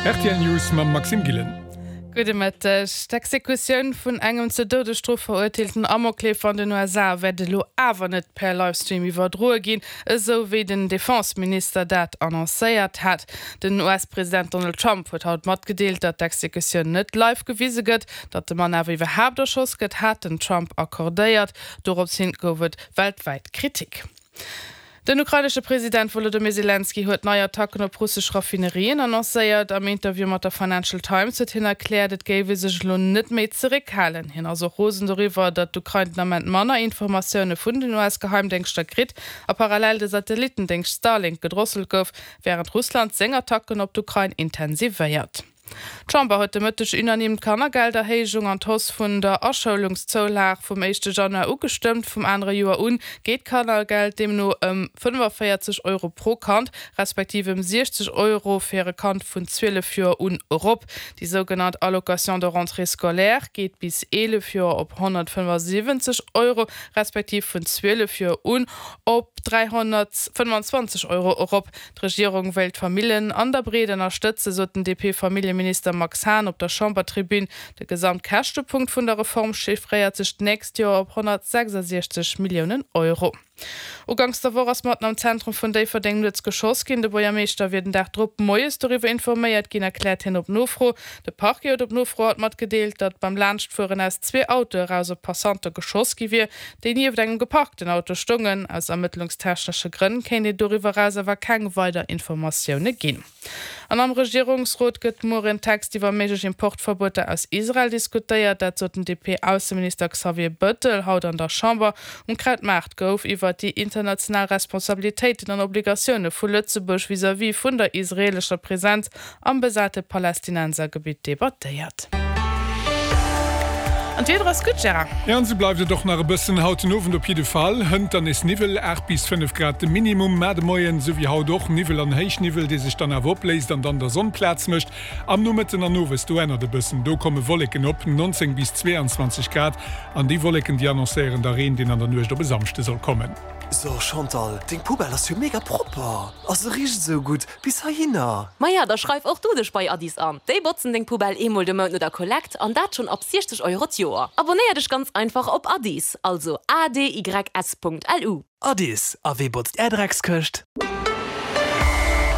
Rtl News mam Maxime Gillen. Gudde Mëtteg. D'Exekutioun vun engem zur Doudesstrof verurteelten Amokleefer an den USA wäert elo awer net per Livestream iwwerdroe ginn, esou wéi den Defenseminister dat annoncéiert hat. Den US-President Donald Trump huet haut matgedeelt, datt d'Exekutioun net live gewise gëtt. Datt de Mann awer iwwerhaapt erschoss gëtt, hat den Trump accordéiert. Dorops hin gouf et weltwäit Kritik. Den ukrainesche President Wolodymyr Selenskyj huet nei Attacken op russesch Raffinerien annoncéiert. Am Interview mat der Financial Times huet hien erkläert, et géif ee sech elo net méi zeréckhalen. Hien ass och rosen doriwwer, datt d'Ukrain den Ament manner Informatioune vun den US-Geheimdéngschter kritt a parallel de Satellittendéngscht Starlink gedrosselt gouf, wärend Russland seng Attacken op d'Ukrain intensivéiert. D'Chamber huet de Mëtteg unanime d'Kannergelderhéijung an d'Hausse vun der Aschoulungszoulage vum éischte Januar ugestëmmt. Vum anere Joer un geet d'Kannergeld deemno ëm 45 Euro pro Kand, respektiv ëm 60 Euro fir e Kand vun 12 Joer un erop. Déi sougenannt Allocation de rentrée scolaire geet bis 11 Joer op 175 Euro, respektiv vun 12 Joer un op 325 Euro erop. D'Regierung wéilt d'Famillen an der Breet ënnerstëtzen, sot den DP-Familljeminister Max Hahn op der Chambertribün. De Gesamtkäschtepunkt vun der Reform chiffréiert sech d'nächst Joer op 166 Milliounen Euro. Uganks der Woch ass matten am Zentrum vun Déifferdeng nuets geschoss ginn. De Buergermeeschter wier den Dag drop moies doriwwer informéiert ginn, erkläert hien op Nofro. De Parquet huet op Nofro haut matgedeelt, datt beim Laanschtfueren aus zwee Autoe eraus op Passante geschoss gi wier. déi nieft engem geparkten Auto stoungen. Aus ermëttlungstechnesche Grënn kéint een doriwwer eraus awer keng weider Informatioune ginn. An am Regierungsrot gëtt muer en Text iwwer méiglech Importverbueter aus Israel diskutéiert. Dat sot den DP-Ausseminister Xavier Bëttel haut an der Chamber. Um Krautmaart gouf iwwer déi international Responsabilitéiten an Obligatioune vu Lëtzebuerg vis-à-vis vun der israeelescher Presenz am besate Palästinensergebitt debattéiert. An d'Wieder ass gutt, Gérard. Jo, an esou bleift et och nach e bëssen haut den Owend op jidde Fall. Hënt dann nees Niwwel, 8 bis 5 Grad de Minimum, mä de Moien, esou wéi haut och, Niwwel an Héichniwwel, dee sech dann awer opléist an dann der Sonn Plaz mécht. Am Nomëtten an Owes, do ännert e bëssen, do komme Wolleken op, 19 bis 22 Grad, an déi Wolleken, déi annoncéieren da Reen, deen an der Nuecht op e Samschde soll kommen. So Chantal, deng Poubelle ass jo mega propper a se richt esou gutt bis heihinner. Maja, da schreif och du dech bei Addis an. Déi botzen deng Poubelle eemol de Mount no der Kollekt an dat schonn ab 60 Euro d'Joer. Abonnéier dech ganz einfach op Addis, also adys.lu. Addis, a wee botzt är Dreckskëscht?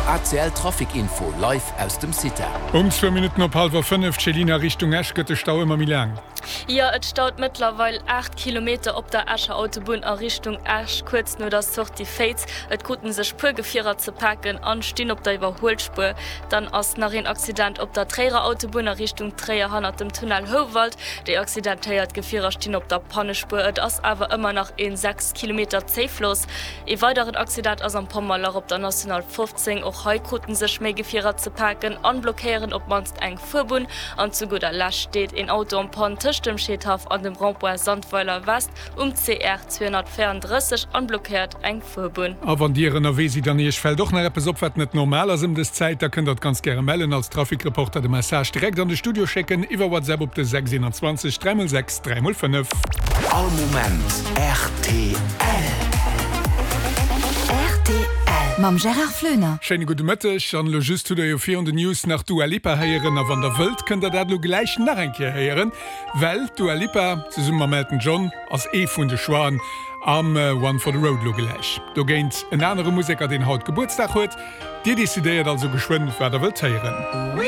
ACL Trafic Info live aus dem CITA. Um zwou Minutten op hallwer 5, Céline, a Richtung Esch gëtt de Stau ëmmer méi laang. Jo, et staut mëttlerweil 8 Kilometer op der Escher Autobunn a Richtung Esch, kuerz no der Sortie Féiz. Et kruten sech puer Gefierer ze paken an stinn op der Iwwerhuelspuer. Dann ass nach een Accident op der Tréierer Autobunn a Richtung Tréier hannert dem Tunnel Houwald. Déi accidentéiert Gefierer stinn op der Pannespuer. Et ass awer ëmmer nach een 6 Kilometer Zéifloss. Ee weideren Accident ass am Pommerlach op der National 15. Och hei kruten sech méi Gefierer ze paken an blockéieren op d'mannst eng Fuerbunn. An zu gudder Lescht steet een Auto en panne tëscht dem Scheedhaff an dem Rond-point Sandweiler West um CR 234 an blockéiert eng Fuerbunn. A wann Dir ënnerwee sidd an Iech fält och nach eppes op, wat net normal ass ëm dës Zäit, da kënnt Der et ganz gäre mellen, als Trafikreporter de Message direkt an de Studio schécken iwwer WhatsApp op de 6 21 3 x 6 3 x 5. All Moment rtl. Rtl mam Gérard Flöner. Schéine gudde Mëtteg. An elo just hutt der jo virun den News nach d'Dua Lipa héieren. A wann der wëllt, kënnt der dat elo gläich nach eng Kéier héieren, well d'Dua Lipa zesumme mam Elton John ass ee vun de Choixen am One for the Road elo gläich. Dogéint en anere Museker, deen haut Gebuertsdag huet. Dir decidéiert also geschwënn, wat der wëllt héieren.